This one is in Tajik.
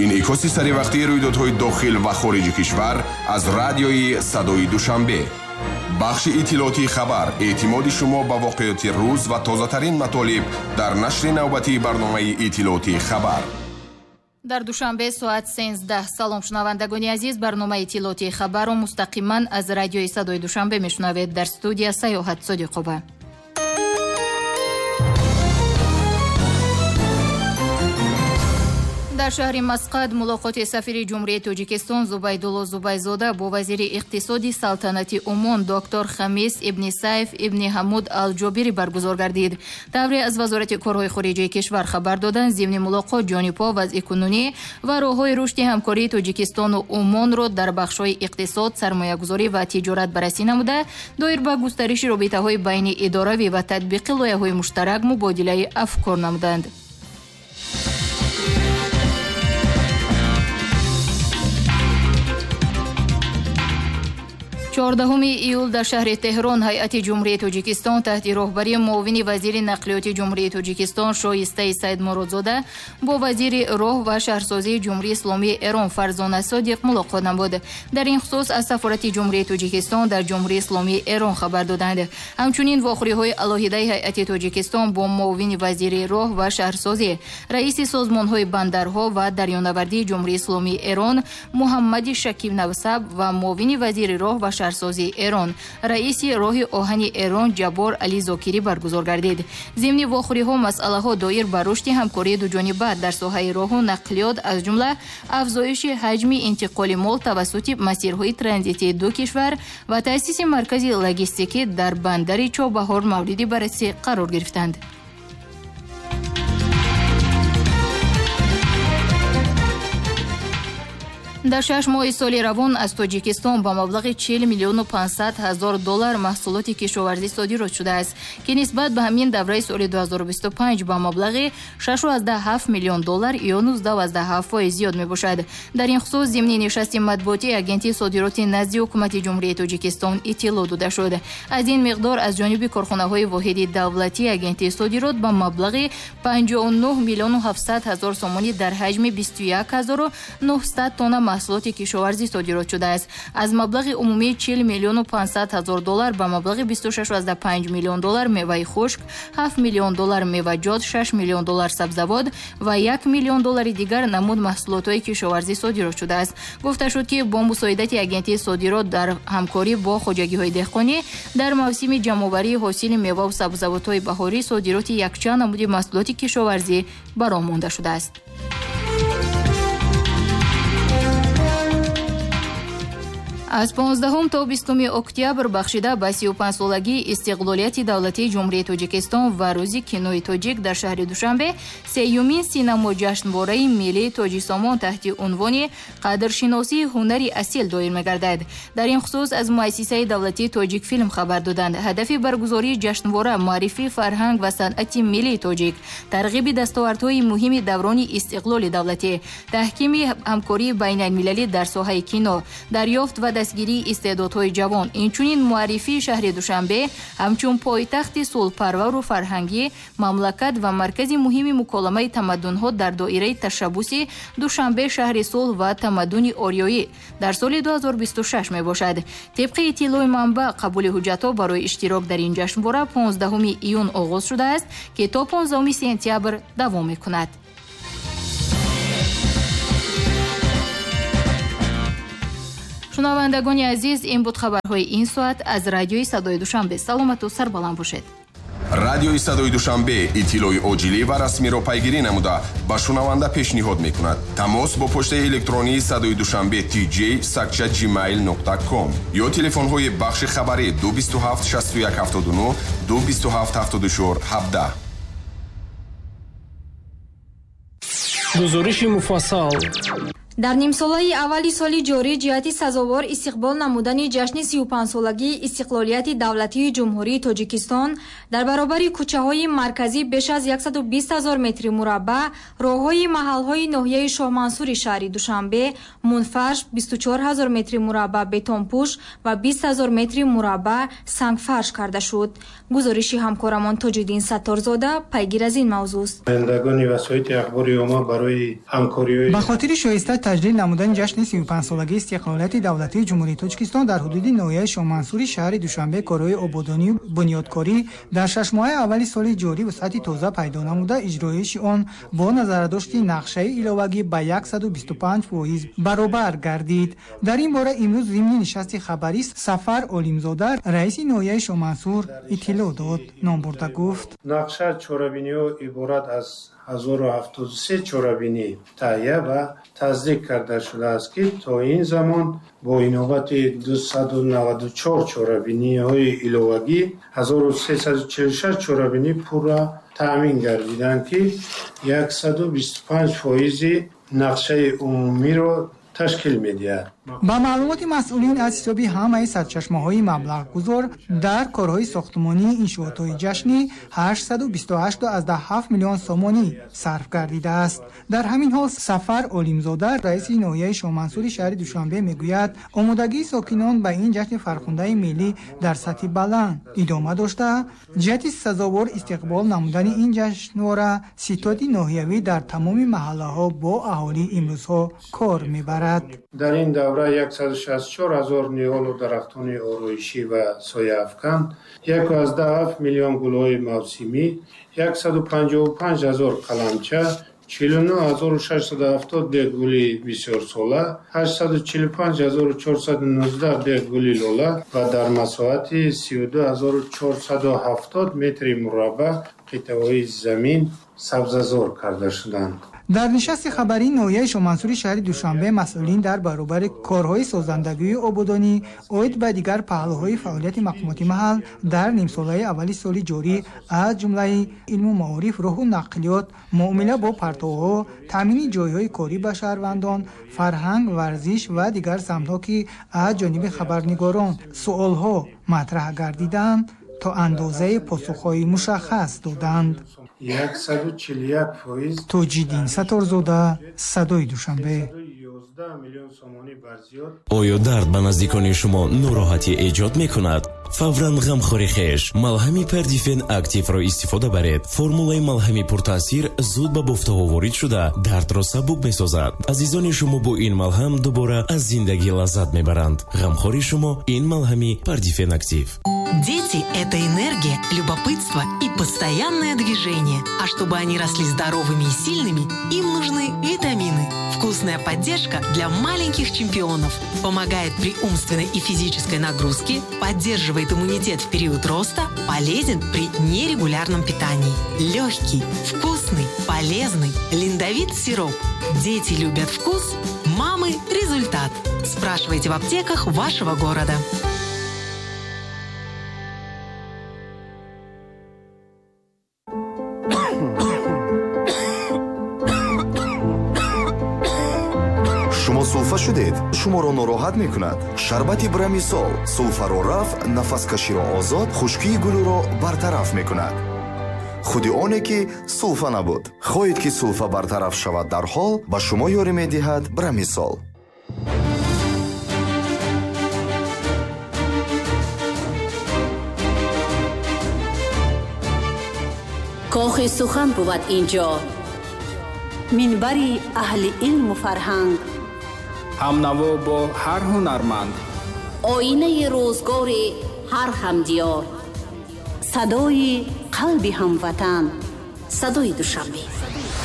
Инъикоси саривақтии рӯйдодҳои дохил ва хориҷи кишвар аз радиои Садои Душанбе. Бахши иттилоотии хабар, эътимоди шумо ба воқеоти рӯз ва тозатарин матолиб дар нашри навбатии барномаи иттилоотии хабар. Дар Душанбе соат 13. Салом, шунавандагони азиз, барномаи иттилоотии хабарро мустақиман аз радиои Садои Душанбе мешунавед. Дар студия Саёҳат Содиқова. Дар шаҳри Масқад мулоқоти сафири Ҷумҳурии Тоҷикистон Зубайдулло Зубайзода бо вазири иқтисоди Салтанати Умон доктор Хамис ибни Сайф ибни Ҳамуд Алҷобирӣ баргузор гардид. Тавре аз Вазорати корҳои хориҷии кишвар хабар доданд, зимни мулоқот ҷонибҳо вазъи кунунӣ ва роҳҳои рушди ҳамкории Тоҷикистону Умонро дар бахшҳои иқтисод, сармоягузорӣ ва тиҷорат баррасӣ намуда, доир ба густариши робитаҳои байни идоравӣ ва татбиқи лоиҳаҳои муштарак мубодилаи афкор намуданд. 14 июл дар шаҳри Теҳрон ҳайати Ҷумҳурии Тоҷикистон таҳти роҳбарии муовини вазири нақлиёти Ҷумҳурии Тоҷикистон Шоистаи Саидмуродзода бо вазири роҳ ва шаҳрсозии Ҷумҳурии Исломии Эрон Фарзона Содиқ мулоқот намуд. Дар ин хусус аз сафорати Ҷумҳурии Тоҷикистон дар Ҷумҳурии Исломии Эрон хабар доданд. Ҳамчунин вохӯриҳои алоҳидаи ҳайати Тоҷикистон бо муовини вазири роҳ ва шаҳрсозӣ, раиси созмонҳои бандарҳо ва дарёнавардии Ҷумҳурии Исломии Эрон Муҳаммади Шакиб Навсаб ва муовини вазири роҳ ва шаҳрсозии Эрон, раиси роҳи оҳани Эрон Ҷаббор Али Зокирӣ баргузор гардид. Зимни вохӯриҳо масъалаҳо доир ба рушди ҳамкории дуҷониба дар соҳаи роҳу нақлиёт, аз ҷумла афзоиши ҳаҷми интиқоли мол тавассути масирҳои транзитии ду кишвар ва таъсиси маркази логистикӣ дар бандари Чобаҳор мавриди баррасӣ қарор гирифтанд. Дар 6 моҳи соли равон аз Тоҷикистон ба маблағи 40 миллиону 500 ҳазор доллар маҳсулоти кишоварзӣ содирот шудааст, ки нисбат ба ҳамин давраи соли 2025 ба маблағи 6,7 миллион доллар ё 19,7% зиёд мебошад. Дар ин хусус зимни нишасти матбуотии Агентии содироти назди Ҳукумати Ҷумҳурии Тоҷикистон иттилоъ дода шуд. Аз ин миқдор аз ҷониби корхонаҳои воҳиди давлатии Агентии содирот ба маблағи 59 миллиону 700 ҳазор сомонӣ дар ҳаҷми 21 900 тонна маҳсулоти кишоварзӣ содирот шудааст. Аз маблағи умумии 40 миллиону 500 ҳазор доллар ба маблағи 26,5 миллион доллар меваи хушк, 7 миллион доллар меваҷот, 6 миллион доллар сабзавот ва 1 миллион доллари дигар намуд маҳсулотҳои кишоварзӣ содирот шудааст. Гуфта шуд, ки бо мусоидати Агентии содирот дар ҳамкорӣ бо хоҷагиҳои деҳқонӣ дар мавсими ҷамъоварии ҳосили меваву сабзавотҳои баҳорӣ содироти якчанд намуди маҳсулоти кишоварзӣ ба роҳ монда шудааст. Аз 15 то 20 октябр бахшида ба 35-солагии истиқлолияти давлатии Ҷумҳурии Тоҷикистон ва рӯзи кинои тоҷик дар шаҳри Душанбе сеюмин синамоҷашнвораи миллии Тоҷисомон таҳти унвони «Қадршиносии ҳунари асил» доир мегардад. Дар ин хусус аз муассисаи давлатии Тоҷикфилм хабар доданд. Ҳадафи баргузории ҷашнвора муаррифии фарҳанг ва санъати миллии тоҷик, тарғиби дастовардҳои муҳими даврони истиқлоли давлатӣ, таҳкими ҳамкории байналмилалӣ дар соҳаи кино, дарёфт ва дастгирии истеъдодҳои ҷавон, инчунин муаррифии шаҳри Душанбе ҳамчун пойтахти сулҳпарвару фарҳангӣ мамлакат ва маркази муҳими муколамаи тамаддунҳо дар доираи ташаббуси «Душанбе шаҳри сулҳ ва тамаддуни ориёӣ» дар соли 2026 мебошад. Тибқи иттилои манбаъ, қабули ҳуҷҷатҳо барои иштирок дар ин ҷашнвора 15 июн оғоз шудааст, ки то 15 сентябр давом мекунад. Шунавандагони азиз, ин буд хабарҳои ин соат аз радиои Садои Душанбе. Саломату сарбаланд бошед. Радиои Садои Душанбе иттилои оҷилӣ ва расмиро пайгирӣ намуда, ба шунаванда пешниҳод мекунад. Тамос бо почтаи электронии Садои Душанбе tj@gmail.com ё телефонҳои бахши хабарӣ 227 61 79, 227 74 17. Гузориши муфассал. Дар нимсолаи аввали соли ҷорӣ ҷиҳати сазовор истиқбол намудани ҷашни 35-солагии истиқлолияти давлатии Ҷумҳурии Тоҷикистон дар баробари кӯчаҳои марказӣ беш аз 120 ҳазор метри мураббаъ роҳҳои маҳалҳои ноҳияи Шоҳмансури шаҳри Душанбе мунфарш, 24 ҳазор метри мураббаъ бетонпӯш ва 20 ҳазор метри мураббаъ сангфарш карда шуд. Гузориши ҳамкорамон Тоҷиддин Сатторзода пайгир аз ин мавзӯст. Намояндагони васоити ахбори омма барои ҳамкориҳои ба хотири шоиста таҷлил намудани ҷашни 35-солагии истиқлолияти давлатии Ҷумҳурии Тоҷикистон дар ҳудуди ноҳияи Шоҳмансури шаҳри Душанбе корҳои ободонию бунёдкорӣ дар шашмоҳаи аввали соли ҷорӣ вусъати тоза пайдо намуда, иҷроиши он бо назардошти нақшаи иловагӣ ба 125% баробар гардид. Дар ин бора имрӯз зимни нишасти хабарӣ Сафар Олимзода, раиси ноҳияи Шоҳмансур, иттилоъ дод. Номбурда гуфт: нақша чорабиниҳо иборат аз 1073 чорабинӣ таҳия ва тасдиқ карда шудааст, ки то ин замон бо инобати 294 чорабиниҳои иловагӣ 1346 чорабинӣ пурра таъмин гардиданд, ки 125% нақшаи умумиро ташкил медиҳад. Ба маълумоти масъулин, аз ҳисоби ҳамаи сарчашмаҳои маблағгузор дар корҳои сохтмонии иншоотҳои ҷашнӣ 828,7 миллион сомонӣ сарф гардидааст. Дар ҳамин ҳол Сафар Олимзода, раиси ноҳияи Шоҳмансури шаҳри Душанбе, мегӯяд, омодагии сокинон ба ин ҷашни фархундаи миллӣ дар сатҳи баланд идома дошта, ҷиҳати сазовор истиқбол намудани ин ҷашнвора ситоди ноҳиявӣ дар тамоми маҳаллаҳо бо аҳолӣ имрӯзҳо кор мебарад. Дар ин давра 164 ҳазор ниҳолу дарахтони ороишӣ ва сояафкан, 1,7 миллион гулҳои мавсимӣ, 155 ҳазор қаламча, 49670 бег гули бисёрсола, 845419 бег гули лола ва дар масоҳати 32470 метри мураббаъ қитъаҳои замин сабзазор карда шуданд. Дар нишасти хабарии ноҳияи Шоҳмансури шаҳри Душанбе масъулин дар баробари корҳои созандагию ободонӣ оид ба дигар паҳлӯҳои фаъолияти мақомоти маҳал дар нимсолаи аввали соли ҷорӣ, аз ҷумлаи илму маориф, роҳу нақлиёт, муомила бо партовҳо, таъмини ҷойҳои корӣ ба шаҳрвандон, фарҳанг, варзиш ва дигар самтҳо, ки аз ҷониби хабарнигорон суолҳо матраҳ гардиданд, то андозаи посухҳои мушаххас доданд. 141%. Тоҷиддин Сатторзода, Садои Душанбе. Оё дард ба наздикони шумо нороҳатӣ эҷод мекунад? Фавран ғамхори хеш малҳами Пердифен Активро истифода баред. Формулаи малҳами пуртаъсир зуд ба бофтаҳо ворид шуда, дардро сабук месозад. Азизони шумо бо ин малҳам дубора аз зиндагӣ лаззат мебаранд. Ғамхори шумо ин малҳами Пердифен Актив. Дети – это энергия, любопытство и постоянное движение. А чтобы они росли здоровыми и сильными, им нужны витамины. Вкусная поддержка для маленьких чемпионов. Помогает при умственной и физической нагрузке, поддерживает иммунитет в период роста, полезен при нерегулярном питании. Легкий, вкусный, полезный Линдовит сироп. Дети любят вкус, мамы – результат. Спрашивайте в аптеках вашего города. Шумо сулфа шудед, шуморо нороҳат мекунад. Шарбати Брамисол сулфаро рафъ, нафаскаширо озод, хушкии гулӯро бартараф мекунад. Худи оне ки сулфа набуд. Хоҳед ки сулфа бартараф шавад дарҳол, ба шумо ёрӣ медиҳад Брамисол. Кохи сухан бувад инҷо, минбари аҳли илму фарҳанг, ҳамнаво бо ҳар ҳунарманд, оинаи рӯзгори ҳар ҳамдиёр, садои қалби ҳамватан, садои Душанбе.